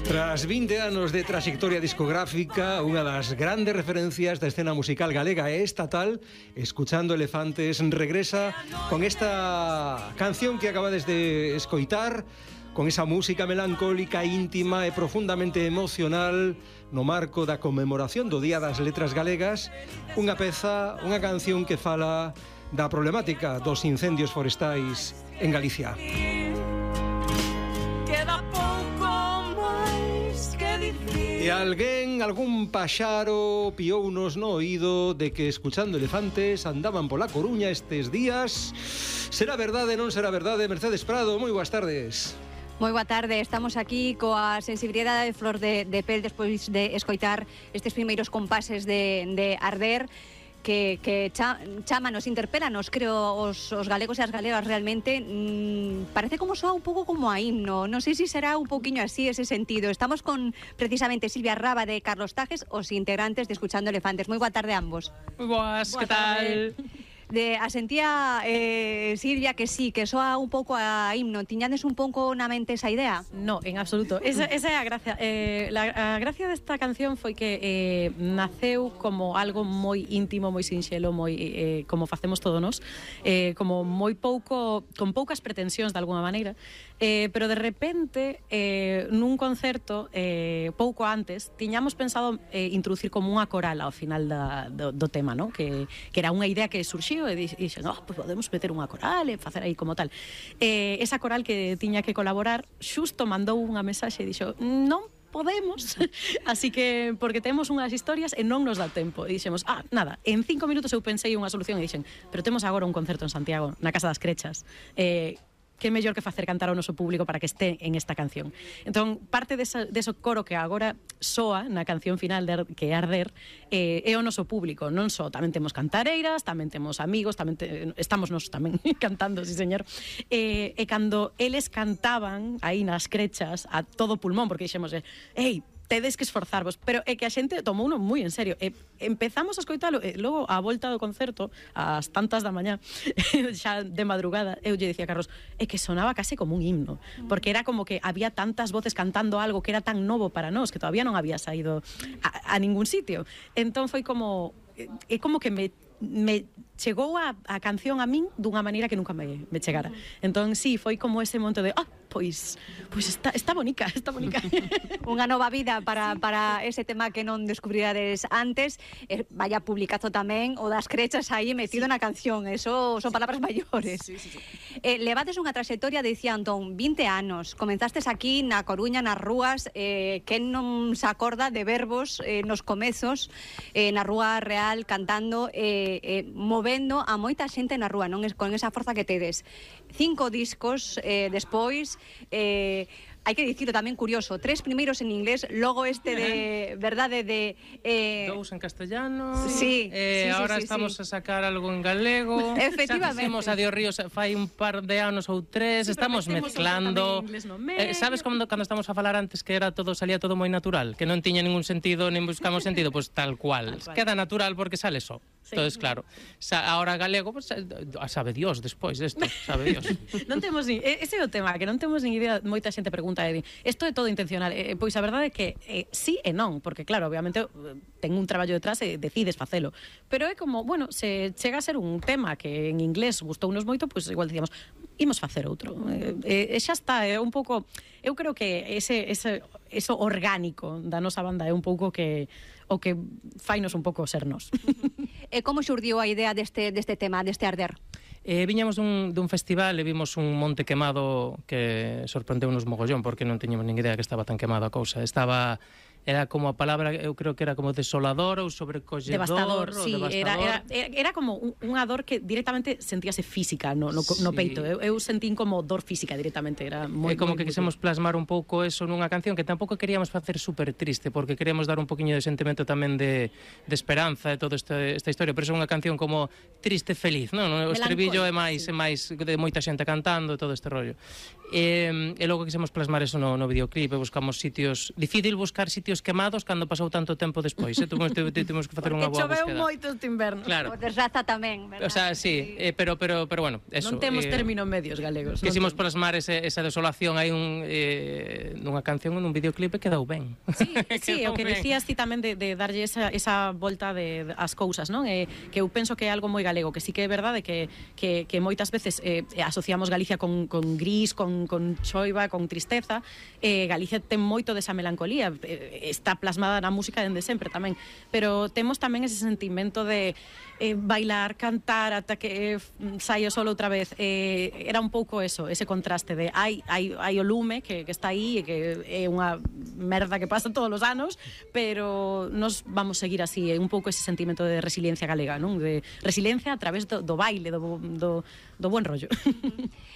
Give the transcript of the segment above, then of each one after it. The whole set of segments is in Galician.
Tras 20 anos de trayectoria discográfica, unha das grandes referencias da escena musical galega e estatal, Escuchando Elefantes regresa con esta canción que acabades de escoitar, con esa música melancólica, íntima e profundamente emocional no marco da conmemoración do Día das Letras Galegas, unha peza, unha canción que fala da problemática dos incendios forestais en Galicia. Queda pouco máis que dicir. E alguén, algún paxaro piounos no oído de que Escuchando Elefantes andaban pola Coruña estes días. Será verdade, non será verdade? Mercedes Prado, moi boas tardes. Moi boa tarde, estamos aquí coa sensibilidade de flor de pel despois de escoitar estes primeiros compases de Arder que chamanos, interpélanos, creo, os galegos e as galegas realmente. Parece como soa un pouco como a himno, non sei se será un pouquiño así ese sentido. Estamos con precisamente Silvia Raba de Carlos Tajes, os integrantes de Escuchando Elefantes. Moi boa tarde a ambos. Moi boas, que tal? Asentía Silvia que sí, que soa un pouco a himno. Tiñades un pouco na mente esa idea? No, en absoluto. Esa é a gracia. A gracia desta canción foi que naceu como algo moi íntimo, moi sinxelo, moi como facemos todos nós, como moi pouco, con poucas pretensións de alguna maneira, pero de repente nun concerto pouco antes tiñamos pensado introducir como unha coral ao final do tema, ¿no? que era unha idea que surxiu e dixen, pues podemos meter unha coral e facer aí como tal. Esa coral que tiña que colaborar xusto mandou unha mensaxe e dixo, non podemos, así que porque temos unhas historias e non nos dá tempo. E dixemos, nada, en 5 minutos eu pensei unha solución e dixen, pero temos agora un concerto en Santiago, na Casa das Crechas, que mellor que facer cantar ao noso público para que este en esta canción. Entón, parte deso coro que agora soa na canción final que é Arder, é o noso público. Non só, tamén temos cantareiras, tamén temos amigos, estamos nós tamén cantando, sí señor. E cando eles cantaban aí nas crechas a todo pulmón, porque dixemos, ei, tedes que esforzarvos, pero é que a xente tomou uno moi en serio. Empezamos a escoitalo, logo a volta do concerto, ás tantas da mañá, xa de madrugada, eu lle dicía a Carlos, é que sonaba case como un himno, porque era como que había tantas voces cantando algo que era tan novo para nós, que todavía non había saído a ningún sitio. Entón foi como, é como que me chegou a canción a min dunha maneira que nunca me chegara. Entón, sí, foi como ese momento de pois está bonica, está bonica. Unha nova vida para ese tema que non descubrirades antes. Vaya publicazo tamén o das crechas aí metido na canción. Eso son palabras maiores. Sí. Levades unha trayectoria, dicía Antón, 20 anos. Comenzastes aquí na Coruña, nas rúas, que non se acorda de verbos nos comezos, na Rúa Real, cantando, movendo a moita xente na rúa, non? Con esa forza que tedes. 5 discos despois, hai que dicilo tamén curioso, 3 primeiros en inglés, logo este de verdade de 2 en castellano. Sí, ahora estamos a sacar algo en galego. Efectivamente. Xa fixemos a Dios Ríos fai un par de anos ou 3, estamos mezclando. Sabes cando estamos a falar antes que era todo, salía todo moi natural, que non tiña ningún sentido, nin buscamos sentido, pues tal cual. Queda natural porque sale só. Entonces, claro, ahora galego, pues, sabe Dios despois desto, sabe Dios. Non temos ese é o tema, que non temos nin idea, moita xente pregunta, isto é todo intencional. Pois a verdade é que sí e non, porque claro, obviamente ten un traballo detrás e decides facelo, pero é como, bueno, se chega a ser un tema que en inglés gustounos moito, pois igual dicíamos, imos facer outro. Xa está, é un pouco, eu creo que eso orgánico da nosa banda é un pouco o que fainos un pouco sernos. E como xurdiu a idea deste tema, deste Arder? Viñamos dun festival e vimos un monte quemado que sorprendeu-nos mogollón, porque non teñamos nin idea que estaba tan quemada a cousa. Era como a palabra, eu creo que era como desolador ou sobrecolledor. Devastador, sí, devastador. Era como unha dor que directamente sentíase física no peito. Eu sentín como dor física directamente. Era moi, como moi, que quisemos plasmar un pouco eso nunha canción que tampouco queríamos facer super triste, porque queríamos dar un poquinho de sentimento tamén de esperanza e toda esta historia, pero é unha canción como triste, feliz, non? O estribillo é máis de moita xente cantando, todo este rollo. E logo quisemos plasmar eso no videoclip, buscamos sitios, difícil buscar sitios sitios quemados cando pasou tanto tempo despois. Tuvimos que facer unha boa choveu búsqueda. moito este inverno. Claro. O desraza tamén, verdad? O sea, sí, pero bueno, eso. Non temos términos medios galegos. Quisimos plasmar esa desolación aí nunha canción, nun videoclip e quedou ben. Sí, Quedou o que ben. dicías ti tamén de darlle esa volta ás cousas, non? Que eu penso que é algo moi galego, que sí que é verdade que moitas veces asociamos Galicia con gris, con choiva, con tristeza. Galicia ten moito desa melancolía, está plasmada na música dende sempre tamén, pero temos tamén ese sentimento de bailar, cantar ata que saia solo outra vez. Era un pouco eso, ese contraste de hai o lume que está aí e que é unha merda que pasa todos os anos, pero nos vamos seguir así, un pouco ese sentimento de resiliencia galega, non? De resiliencia a través do baile, do buen rollo.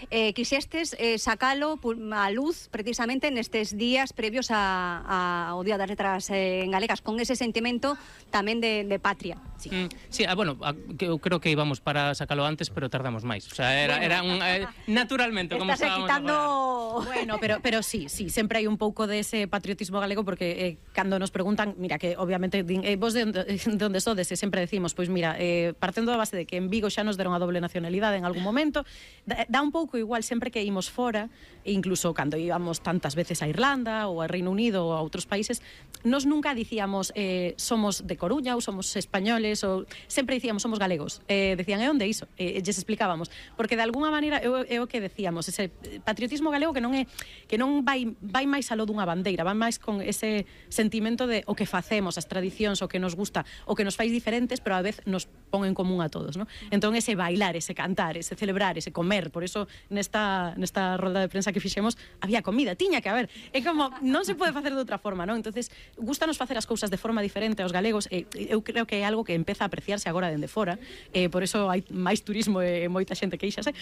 Quixestes sacalo a luz precisamente nestes días previos ao Día das Letras en galegas, con ese sentimento tamén de patria. Sí, bueno, eu creo que íbamos para sacalo antes, pero tardamos máis. O sea, era un naturalmente como estábamos quitando... Bueno, pero sí, sempre hai un pouco dese patriotismo galego, porque cando nos preguntan, mira, que obviamente vos de onde sodes, e sempre decimos, pois mira, partendo da base de que en Vigo xa nos deron a doble nacionalidade en algún momento, dá un pouco igual sempre que imos fora, e incluso cando íbamos tantas veces a Irlanda ou a Reino Unido ou a outros países, nos nunca dicíamos somos de Coruña ou somos españoles, ou sempre dicíamos somos galegos. Decían, e onde iso? Lles explicábamos, porque de alguna maneira é o que decíamos, ese patriotismo galego que non vai máis aló dunha bandeira, vai máis con ese sentimento de o que facemos, as tradicións, o que nos gusta, o que nos fais diferentes, pero a vez nos pon en común a todos, ¿no? Entón ese bailar, ese cantar, ese celebrar, ese comer, por eso nesta rolda de prensa que fixemos había comida, tiña que haber. É como, non se pode facer de outra forma, ¿no? Entonces, gustanos facer as cousas de forma diferente aos galegos, eu creo que é algo que empeza a apreciarse agora dende fora, por eso hai máis turismo e moita xente queixase.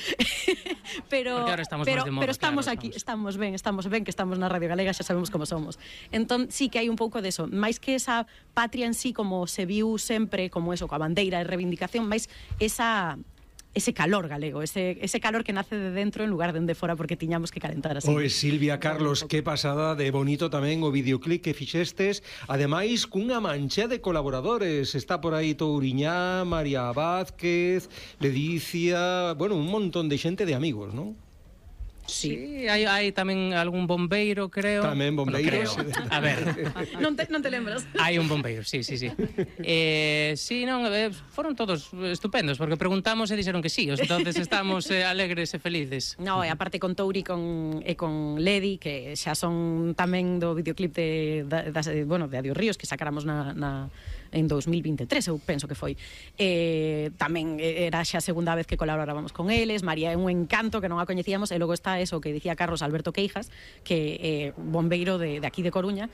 Pero estamos aquí, estamos ben, que estamos na Radio Galega, xa sabemos como somos. Entón, sí que hai un pouco deso, máis que esa patria en sí, como se viu sempre, como eso, coa bandeira e reivindicación, máis ese calor galego, ese calor que nace de dentro en lugar de fora, porque tiñamos que calentar así. Oe, Silvia, Carlos, que pasada de bonito tamén o videoclip que fixestes, ademais cunha mancha de colaboradores. Está por aí Touriñá, María Vázquez, Ledicia, bueno, un montón de xente de amigos, non? Sí, hai tamén algún bombeiro, creo. Tamén bombeiros. Bueno, creo. A ver. non te lembras? Hai un bombeiro, sí. Sí, non, foron todos estupendos, porque preguntamos e dixeron que sí, entonces estamos alegres e felices. No, e aparte con Touri e con Ledi, que xa son tamén do videoclip de Adiós Ríos, que sacáramos en 2023, eu penso que foi. Tamén era xa a segunda vez que colaborábamos con eles. María é un encanto, que non a coñecíamos, e logo está eso que dicía Carlos Alberto Queijas, que é bombeiro de aquí de Coruña.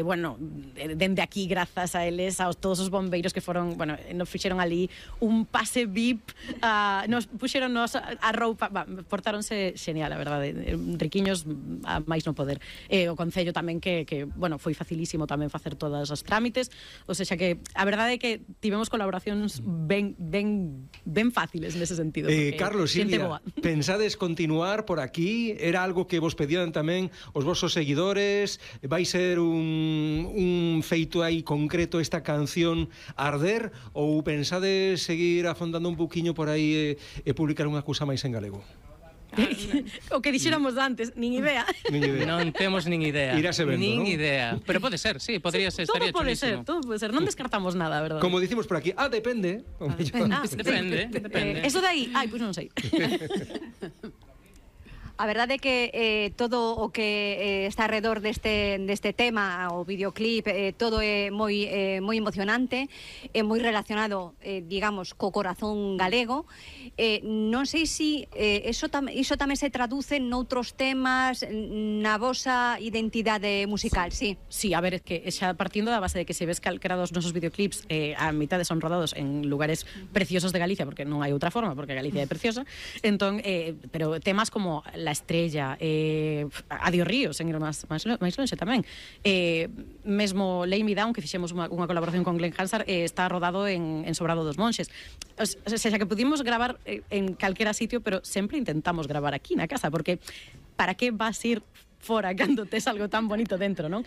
Bueno, dende aquí, grazas a eles, a todos os bombeiros que foron, bueno, nos fixeron ali un pase VIP, nos puxeronnos a roupa, portáronse genial, a verdade, riquiños a máis non poder. O Concello tamén que bueno, foi facilísimo tamén facer todas as trámites, ou seja que a verdade é que tivemos colaboracións ben fáciles nese sentido. Carlos, Silvia, pensades continuar por aquí? Era algo que vos pedían tamén os vosos seguidores? Vai ser un feito aí concreto esta canción Arder, ou pensades seguir afondando un poquinho por aí e publicar unha cousa máis en galego? O que dixéramos antes, nin idea. Non temos nin idea. Irase vendo, nin ¿no? idea. Pero pode ser, sí, podría ser, estaría chulísimo. Todo pode ser, non descartamos nada, verdade? Como dicimos por aquí, depende. Depende. Eso de aí, pois non sei. A verdade é que todo o que está alrededor deste tema, o videoclip, todo é moi emocionante, é moi relacionado, digamos, co corazón galego. Non sei se iso tamén se traduce noutros temas na vosa identidade musical, sí? Sí, a ver, é que xa partindo da base de que se ves calquera dos nosos videoclips, a mitad son rodados en lugares preciosos de Galicia, porque non hai outra forma, porque Galicia é preciosa. Entón, pero temas como La Estrella, Adiós Ríos, en ir máis longe tamén, mesmo Lay Me Down, que fixemos unha colaboración con Glenn Hansard, está rodado en Sobrado dos Monxes. O sea, que pudimos gravar en calquera sitio, pero sempre intentamos gravar aquí na casa, porque para que vas ir fora cando tes algo tan bonito dentro, non?